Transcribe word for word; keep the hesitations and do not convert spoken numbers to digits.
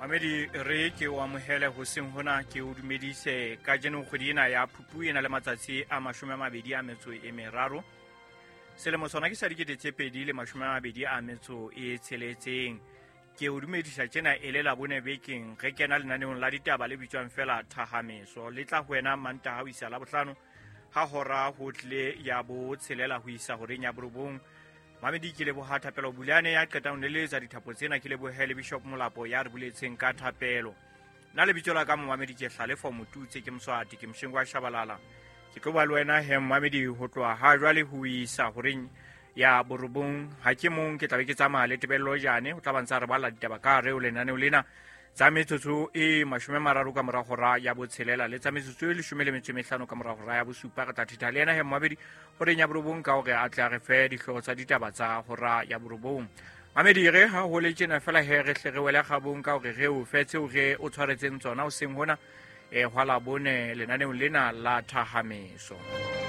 Mamedi re ke o amohele hoseng hona, ke o dumedise kajeno kgwedi ena ya Phupu e na le matsatsi a mashome a mabedi a metso e meraro. Selemo sona ke sa dikete tse pedi le mashome a mabedi a metso e tsheletseng. Ke o dumedisa tjena e le Labone bekeng, re kena lenaneong la ditaba le bitswang fela Thahameso. Le tla ho wena Mantaha ho isa Labohlano ha hora ho tlile ya bo tshelela ho isa horeng ya borobong. Mamedi ke leboha Thapelo Bulane ya qetang ho neletsa dithapo tsena, ke lebohe le Bishop Molapo ya re buletseng ka thapelo. Nna lebitso la ka Momamedi ke Hlalefo Motutse, ke Moswati, ke Moshengo wa Shabalala. Ke tlo ba le wena he Momamedi ho tloha ha jwale ho isa horeng ya borobong. Ha ke mong, ke tla be ke tsamaya le Tebello Jane, ho tla ba ntsa re balla ditaba ka hare ho lenaneo lena tsa metsotso e mashome a mararo ka mora hora ya botshelela le tsa metsotso e leshome le metso e mehlano ka mora hora ya bosupa. Re tla thetha le yena he Momamedi horeng ya borobong ka hore a tle a re fe dihlooho tsa ditaba tsa hora ya borobong. Mamedi re ha ho le tjena fela he re hle re wele kgabong ka hore re o fe tseo re o tshwaretseng tsona hoseng hona, eh, hwa Labone lenaneong lena la Thahameso.